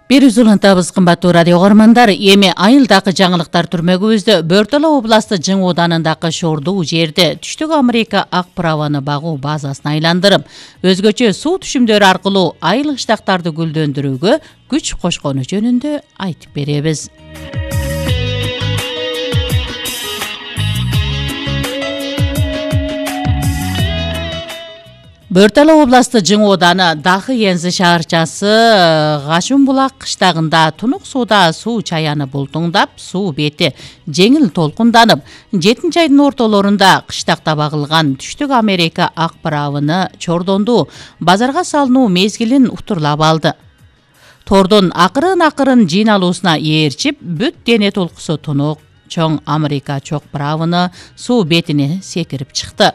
Бир үзүлүнтабыз кымбаттуу радио көрөрмандар. Эми айылдагы жаңылыктар түрмөгүбүздө Бөртөлө областы Жың ооданындагы шордуу жерде Түштүк Америка ак праваны багуу базасын айландырып, өзгөчө суу түшүмдөрү аркылуу айыл кыштактарды гүлдөндүрүүгө күч кошкону жөнүндө айтып беребиз. Бөртөлө областы Жың ооданы Дахы Ензи шаарчасы Гашунбулак кыштагында тунук сууда суу чаяны бултуңдап, суу бети жеңил толкунданып, 7 айдын ортолорунда кыштакта багылган Түштүк Америка ак правыны чордондуу базарга салынуу мезгилин утурлап алды. Тордун акырын жыйналуусуна ээрчип, бүт дене толкусу тунук чоң Америка чок правыны суу бетине секирип чыкты.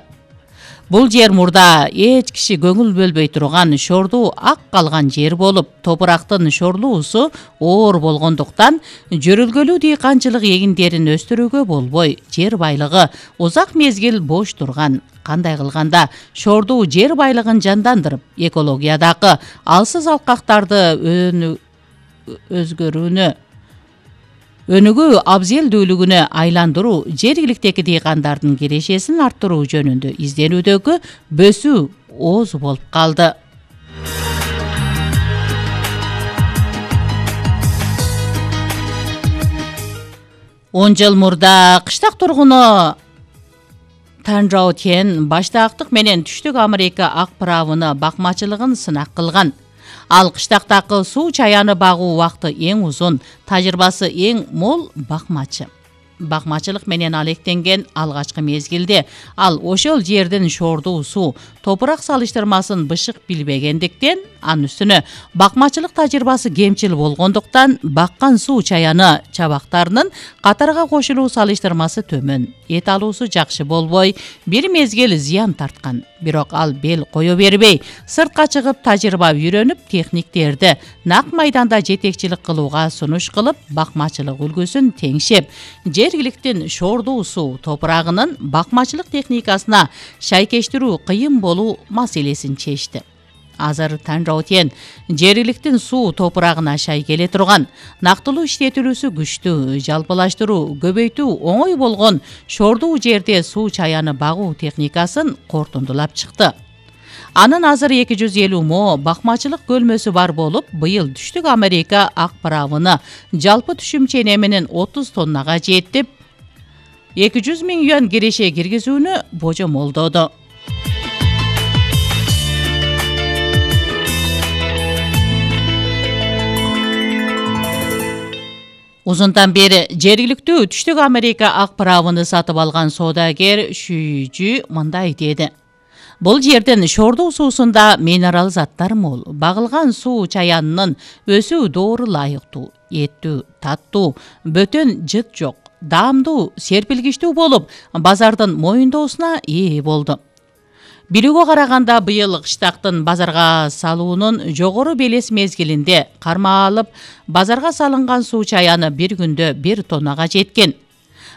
Бул жер мурда эч киши көңүл бөлбөй турган шордуу ак калган жер болуп, топурактын шорлуусу оор болгондуктан жөрөлгөлүү дыйканчылык эгиндерин өстүрүүгө болбой, жер байлыгы узак мезгил бош турган. Кандай кылганда шордуу жер байлыгын жандандырып, экологиядагы алсыз алкактарды өнүгүү абзелдүүлүгүнө айландыруу, жергиликтеги дыйкандардын кирешесин арттыруу жөнүндө изденүүдөгү бөсүү ооз болуп калды. Он жыл мурда кыштак тургуну Танжао Тен баштаактык менен Түштүк Америка ак правыны бакмачылыгын сынак кылган. Ал кыштактагы суу чаяны багуу убакыты эң узун, тажрыйбасы эң мол бакмачы. Бакмачылык менен алектенген алгачкы мезгилде ал ошол жердин шордуу суу, топурак салыштырмасын бышык билбегендиктен, анын үстүнө бакмачылык тажрыйбасы кемчил болгондуктан баккан суу чаяны чабактарынын катарга кошулуу салыштырмасы төмөн, эт алуусу жакшы болбой, бир мезгил зыян тарткан. Бирок ал бел кое бербей, сыртка чыгып тажрыйба үйрөнүп, техниктерди нак майданда жетекчилик кылууга сунуш кылып, бакмачылык үлгүсүн теңшеп, жергиликтин шордуу суу топурагынын бакмачылык техникасына шайкештирүү кыйын болуу маселесин чечти. Азыр Танжао Тен жергиликтин суу топурагына шай келе турган, нактылуу иштетилүүсү күчтүү, жалпылаштыруу, көбөйтүү оңой болгон шордуу жерде суу чаяны багуу техникасын кортундулап чыкты. Анын азыр 250 мо бакмачылык көлмөсү бар болуп, быйыл Түштүк Америка ак правыны жалпы түшүм ченеминин 30 тоннага жетип, 200 000 юан киреше киргизүүнү божомолдоду. Узунтан бери жергиликтүү Түштүк Америка ак правыны сатып алган соодагер Шүйжү мындай деди. Бул жердин шордуу суусунда минерал заттар мол. Багылган суу чаянынын өсүү доору ылайыктуу, эттүү, таттуу, бөтөн жыт жок, даамдуу, серпилгичтүү болуп, базардын моюндоосуна ээ болду. Билүүгө караганда быйыл кыштактын базарга салуунун жогору белес мезгилинде кармалып, базарга салынган суу чаяны бир күндө 1 тоннага жеткен.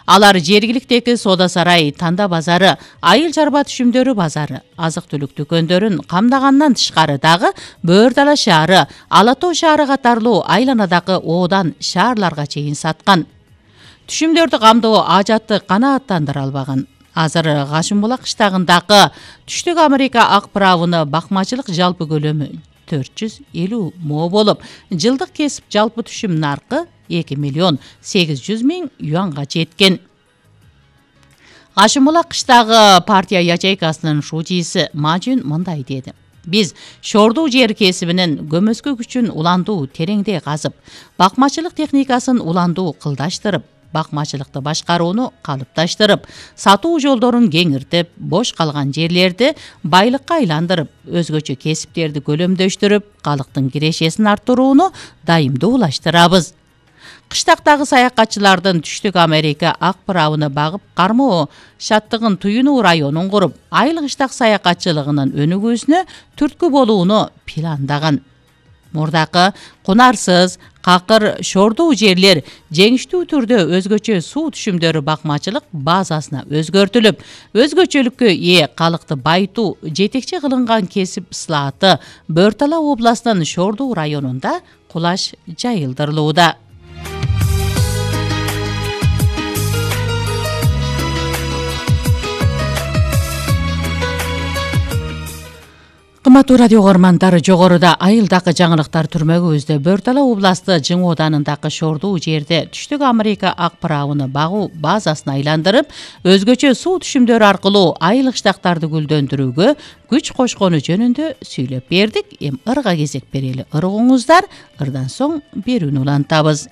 Алар жергиликтеги соода сарай, Танда базары, айыл чарба түшүмдөрү базары, азык-түлүк дүкөндөрүн камдагандан тышкары дагы Бөөр-Дала шаары, Ала Тоо шаары катарлуу айланадагы оодан шаарларга чейин саткан. Түшүмдөрдү камдоо ажатты канааттандыра албаган. Азыр Гашунбулак кыштагындагы Түштүк Америка ак правыны бакмачылык жалпы көлөмү 450 мо болуп, жылдык кесип жалпы түшүм наркы 2 800 000 юанга жеткен. Гашунбулак кыштагы партия ячейкасынын шуучиси Мажун мындай деди. Биз шордуу жер кесибинин көмөскө күчүн уландуу тереңдей казып, бакмачылык техникасын уландуу кылдаштырып, бакмачылыкты башкарууну калыпташтырып, сатуу жолдорун кеңиртип, бош калган жерлерди байлыкка айландырып, өзгөчө кесиптерди көлөмдөштүрүп, калктын кирешесин арттырууну дайымдуулаштырабыз. Кыштактагы саякатчылардын Түштүк Америка ак правыны багып кармоо шаттыгын туюнуу районун куруп, айыл кыштак саякатчылыгынын өнүгүүсүнө түрткү болууну пландаган. Мурдакы кунарсыз, какыр, шордуу жерлер жеңиштүү түрдө өзгөчө суу түшүмдөрү бакмачылык базасына өзгөртүлүп, өзгөчөлүккө ээ калыкты байытуу жетекчи кылынган кесип ысылааты Бөр-Тала областынын Шордуу районунда кулаш жайылдырылууда. Кымбаттуу радио угармандар, жогоруда айылдагы жаңылыктар түрмөгүбүздө Бөр-Тала областы Жың Оданындагы Шордуу жерде Түштүк Америка ак правыны багуу базасын айландырып, өзгөчө суу түшүмдөрү аркылуу айыл кыштактарды гүлдөндүрүүгө күч кошкону жөнүндө сүйлөп бердик. Эми ырга кезек берели. Ыргыңыздар, ырдан соң берүүнү улантабыз.